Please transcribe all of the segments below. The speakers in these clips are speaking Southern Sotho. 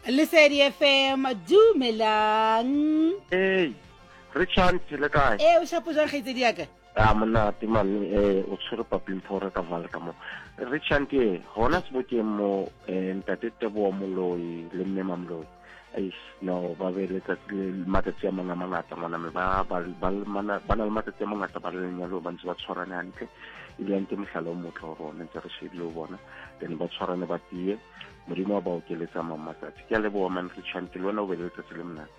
Lesedi FM, dumelang. Hey, Richard, le kae? Ee, o shapo jwang kgaitsedi ya ka? A monate mane, eh o tshwere paping phore ka vale ka mo. Richard e hona sebokeng mo eh, ntate Teboa Moloi le mme Mamoloi. Eish, no ba be letsatsi le matsatsi a mang a mangata ngwana me ba ba ba ba na le matsatsi a mangata ba le lenyalo ba ntse ba tshwarane hantle ebile ke mohlala o motle go rona ntse re shebile o bona then ba tshwarane ba tie modimo wa ba okeletsa mang matsatsi ke a leboa man Richard le wena o be le letsatsi le monate.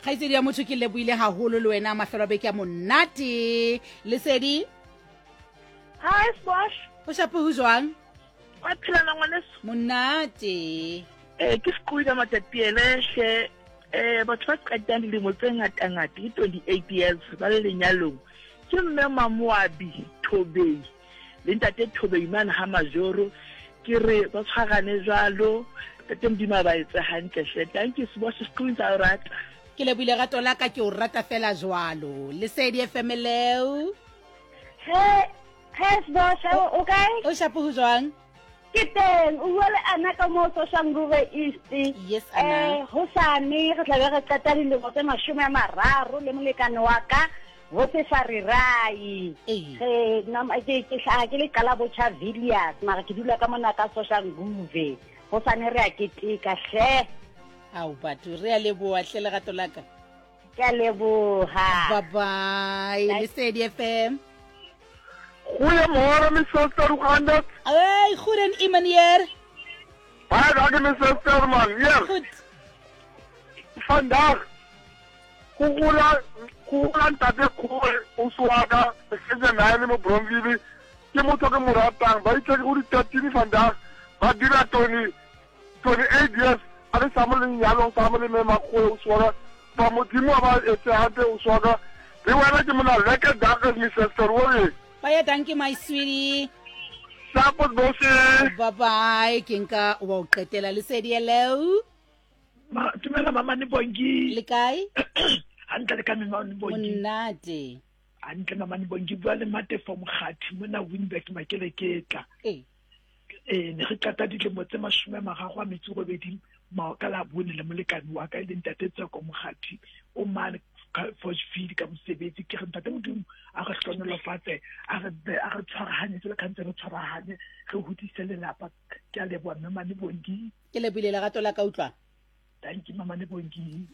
Kgaitsedi ya motho ke leboile haholo le wena mafelo a beke a monate. Lesedi. Hi Sbosh. O shape ho jwang? Wa phela na ngwaneso? Monate. Eh ke seqoile matatiele hle eh batho ba qetang dilemo tse ngata ngata ke 28 years ba le lenyalong. Ke mme Mamoabi Thobei le ntate Thobei mane ha Majoro ke re ba tshwarane jwalo ntate Modimo a ba etse hantle hle. Thank you Sbosh seqoile tsa o rata. Ke lebohile rato la ka ke o rata fela jwalo. Lesedi FM leo. He, he Sbosh, o kae? O shapo ho jwang? Ke teng, o bua le Ana ka mo Soshanguve East. Yes, Ana. Eh, hosane re tla be re qeta dilemo tse 30 le molekane wa ka bo Sefarirai. Re ke ke hlaha ke le qala botjha Villiers, mara ke dula ka mona ka Soshanguve. Hosane re a keteka hle. Ao batho re a leboha hle lerato la ka. Ke a leboha. Bye bye. Lesedi FM. Goeiemôre my suster, hoe gaan dit? Hey, goed en u meneer? Baie dankie my suster man. Hier. Goed. Vandag go gola go gola ntate Kgoe o swaka setse nine mo Bronville ke motho ke mo ratang ba itse go di-13 vandag ba dira 20 28 years a le sa mo lenyalong sa mo le mme Makgoe o swaka ba modimo a ba etse hantle o swaka le wena ke mona lekker dag my sister o re Baie dankie my sweetie. Sapo bosi. Bye bye ke nka wa o qetela lesedi hello. Ma, dumela mama ne bongi. Le kae? Hantle le ka mama ne bongi. Monate. Hantle mama ne bongi bua le Matefo Mokgathi mona Winburg Makeleketla. Ee. Ee, ne re qeta dilemo tse 38 ka Labone le molekane wa ka e leng Ntate Tseko Mokgathi o mane Forgefield ka mosebetsi. Ke re Ntate Modimo a re hlonolofatse, a re a re tshwarahanye jwalo ka ntse re tshwarahanye, re hodise lelapa. Ke a leboha mme Mane Bongi. Ke lebohile lerato la ka utlwa. Thank you Mama Bongi.